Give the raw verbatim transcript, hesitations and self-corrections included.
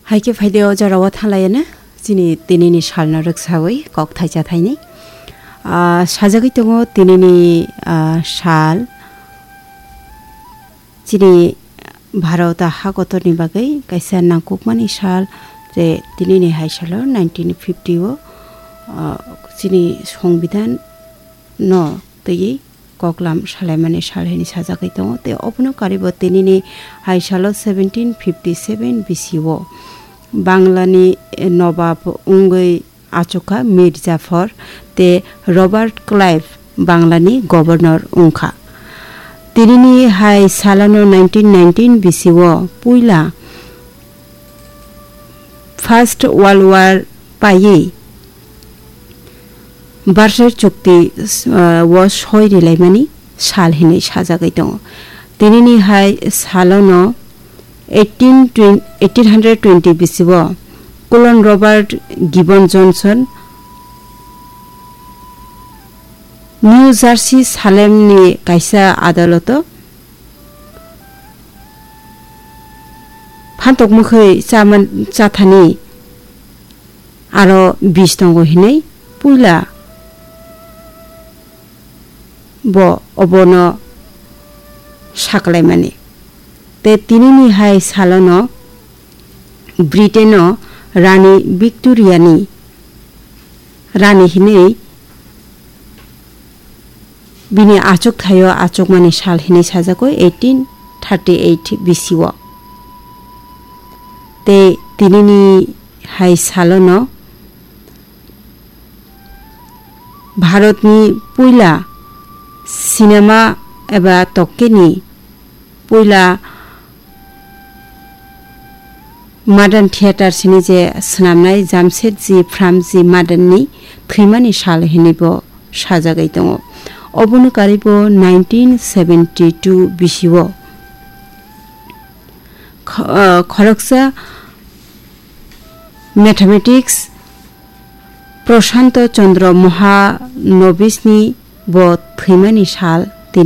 Hai khe phai de o jora o thanglai no chini tini ni sal no rwksawi kok thaisa thaini. Ah, sajagwi tongo tini ni, ah, sal. Chini Bharata ha kotor ni bagwi kaisa nangkukmani sal, je tini ni hai salo nineteen fifty o, ah, chini Songbidan no twiwi koklam salaimani sal hinwi sajagwi tongo. Tei obono karibo tinini hai salo seventeen fifty seven B C o Banglani nobab wngwi achukha Mir Jafar tei Robert Clive Banglani governor wngkha. Tinini hai salano nineteen nineteen B C o puila First World War paiwi Versailles chukti, uh, o soi rilaimani sal hinwi sajagwi tongo. Tinini hai salono eighteen twenty, eighteen hundred twenty B C o Colonel Robert Gibbon Johnson New Jersey Salemni kaisa adaloto phantok mwkhwi chaman-, chathani aro bis tongo hinwi puila bo obono saklaimani. Tei tinini hai salono Britain-o Rani Victoria-ni rani hinwi bini achuk thaio achukmani sal hinwi sajagwi eighteen thirty eight B C o. Tei tinini hai salono Bharatni puila cinema eba tokkeni puila Modern theatre sini je swnamnai Jamsetji Premji Modernni thwimani sal hinwi bo sajagwi tongo. Obono karibo nineteen seventy two B C o kho-, ah, khoroksa mathematics Prashanto Chandra Mahanobisni bo thwimani sal